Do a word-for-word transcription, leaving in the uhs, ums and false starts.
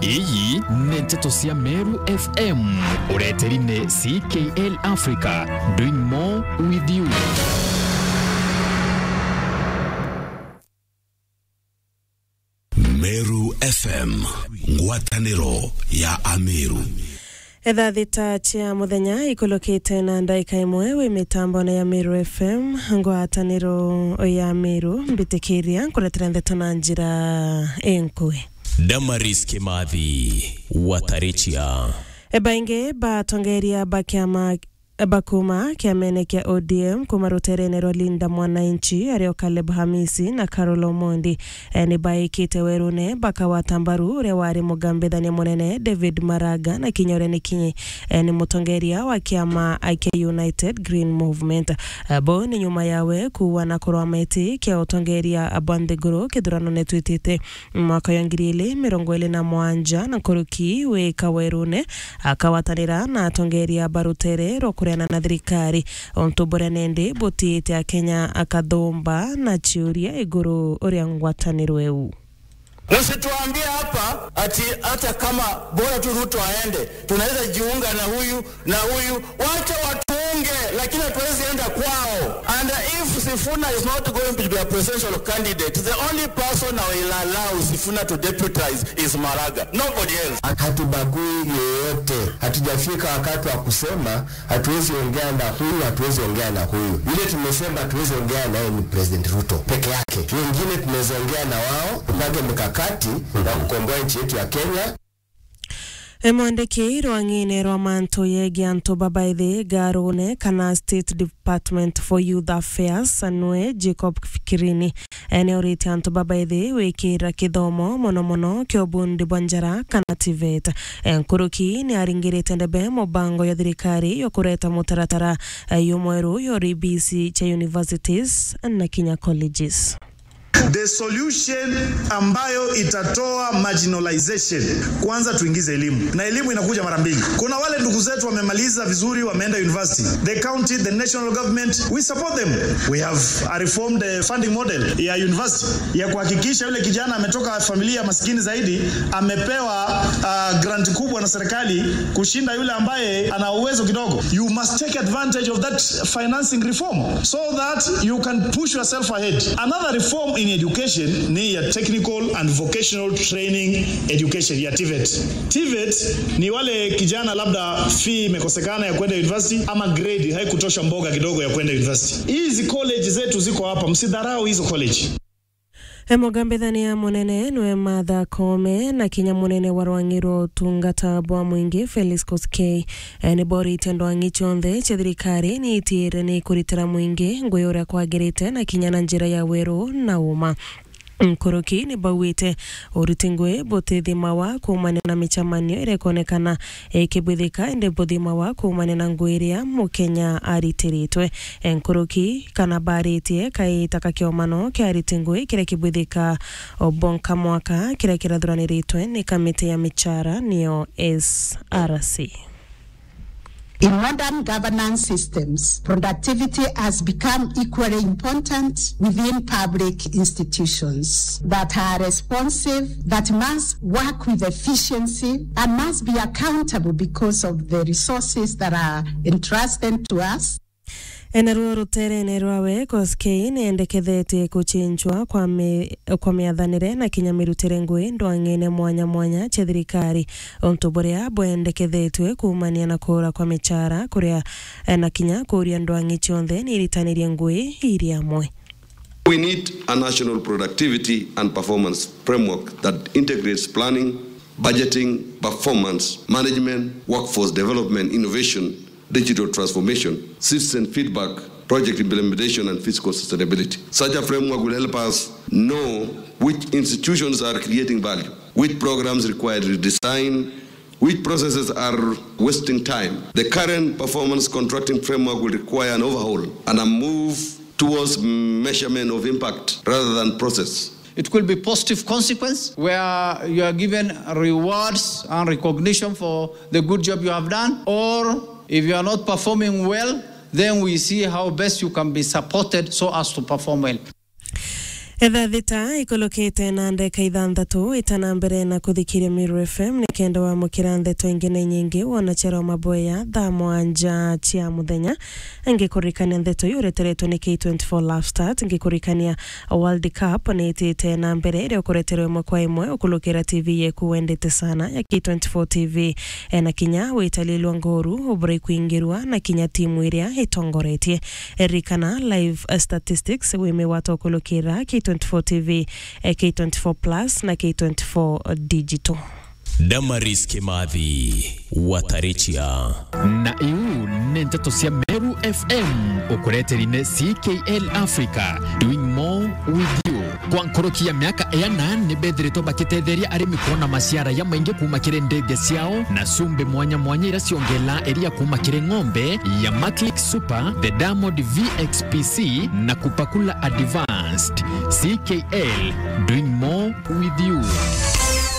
Iyi ni nteto cia Meru F M, ureteri ni C K L Africa, doing more with you. Meru F M, ngwataniro ya Ameru. Etha thita cia muthenya ikulukite na ndaika imwe wi mitambone ya Meru F M, ngwataniro ya Meru, mbitikiria nkuretera ndeto na njira inkui. Damaris Kimathi, Watarichia. Baingi batongeria ba kiama bakuma kiamene kia O D M kuma ruterene rwa Linda Mwananchi, ario Caleb Hamisi na Carol Omondi, e, ni baikite werune bakawata mbaru uria wari mugambithania munene David Maraga, na kinya uria ni kinyi, e, ni mutongeria wa kiama kia United Green Movement. E, bo ni nyuma yawe kuua na kurwa meti kia utongeria bwa nthiguru kithurano netwitite mwaka wa ngiri ili mirongo ili na mwanja, na nkuruki wi kawerune akawatanira na atongeria ba rutere rwa kureana na thirikari, untu buria nendi butiite Akenya akathumba na ciuria iguru uria ngwataniro iu. Msituambie hapa ati hata kama bora tu Ruto aende, tunaweza jiunga na huyu na huyu. Wacha watuunge, lakini hatuwezi enda kwao. And if Sifuna is not going to be a presidential candidate, the only person I will allow Sifuna to deputize is Maraga. Nobody else. Hatubagui yeyote. Hatujafika wakati wa kusema hatuwezi ongea na huyu, hatuwezi ongea na huyu. Yule tumesema hatuwezi ongea naye ni President Ruto peke yake. Wengine tunaweza ongea na wao, tupange mikakati ya kukomboa nchi yetu ya Kenya. E, mwandiki rwang'ine rwa mantu yegie antu babaithi ngarune kana State Department for Youth Affairs, nwe Jacob Fikirini, e, ni uritie antu babaithi wikira kithomo mono mono kia ubundi bwa njara kana TVET. E, nkuruki ni aringirite ndebe mubango ya thirikari ya kureta mutaratara, e, yumweru ya uribisi cha universities na kinya colleges. The solution ambayo itatoa marginalization, kwanza tuingize elimu, na elimu inakuja mara mbili. Kuna wale ndugu zetu wamemaliza vizuri, wameenda university. The county, the national government, we support them. We have a reformed, eh, funding model ya university ya kuhakikisha yule kijana ametoka familia maskini zaidi amepewa, ah, grant kubwa na serikali kushinda yule ambaye ana uwezo kidogo. You must take advantage of that financing reform so that you can push yourself ahead. Another reform in education ni ya technical and vocational training education, ya TVET. TVET ni wale kijana labda fee imekosekana ya kwenda university ama grade haikutosha mboga kidogo ya kwenda university. Hizi college zetu ziko hapa, msidharau hizo college. E, mugambithania munene nwe Martha Koome na kinya munene wa rwang'i rwa utungata bwa mwingi Felix Koskei, e, ni boritie ndwang'i cionthe cia thirikari ni itiire ni kuritira mwingi ngui uria kwagirite na kinya na njira ya weru na uma. Nkuruki ni bauite uriti ngui butithimawa kuumania na micemanio iria ikonekana ikibwithika, indi buthimawa kuumania na ngui iria Mukenya aritiritwe. Nkuruki kana baritie kaita ka kiomano kia ariti ngui kiria kibwithika o bonka mwaka kiria kirathuraniritwe ni kamiti ya michara, niyo S R C. In modern governance systems, productivity has become equally important within public institutions that are responsive, that must work with efficiency, and must be accountable because of the resources that are entrusted to us. Enaruo ruterene rwawe, Koskei neendekethetie kuchinchwa kwa mi-, kwa miathanire na kinya mirutire ngui ndwang'ine mwanya mwanya cia thirikari, untu buria bwendekethetwe kuumania na kuura kwa michara, kuria, eh, na kinya kuuria ndwang'i cionthe niiritanirie ngui iri amwe. We need a national productivity and performance framework that integrates planning, budgeting, performance management, workforce development, innovation, digital transformation, citizen feedback, project implementation, and fiscal sustainability. Such a framework will help us know which institutions are creating value, which programs require redesign, which processes are wasting time. The current performance contracting framework will require an overhaul and a move towards measurement of impact rather than process. It could be positive consequence where you are given rewards and recognition for the good job you have done, or if you are not performing well, then we see how best you can be supported so as to perform well. Thaa thita ikulukite na ndeka ithanthatu, itana mbere na kuthikiria Meru F M, ni kenda wamukira ndeto ingi na inyingi wona chero maboya thaa mwanja cia muthenya. Ngikurikania ndeto iu ureteretwe ni K twenty-four Love Start, ngikurikania World Cup ni itite na mbere, iria ukureterwe imwe kwa imwe ukulukira T V yeku wendete sana ya K twenty-four T V. E, na kinya witalilwa ngoru ubura ikwingirwa na kinya timu iria itongoretie. Ririkana live, eh, statistics wimigwata ukulukira K twenty-four T V, eh, K twenty-four Plus na K twenty-four Digital. Damaris Kimathi, Watarichia. Na iu ni nteto cia Meru F M, ukureteri ni C K L Africa, doing more with you. Kwa nkoroki ya miaka iana, ni bethiritwe bakitetheria arimi kuona maciara ya maingi kuma kiri ndithia ciao, na cumbi mwanya mwanya iria ciongela iria kuma kiri ng'ombe ya Maclick Super, the Diamond V X P C, na Kupakula Advanced. C K L, doing more with you.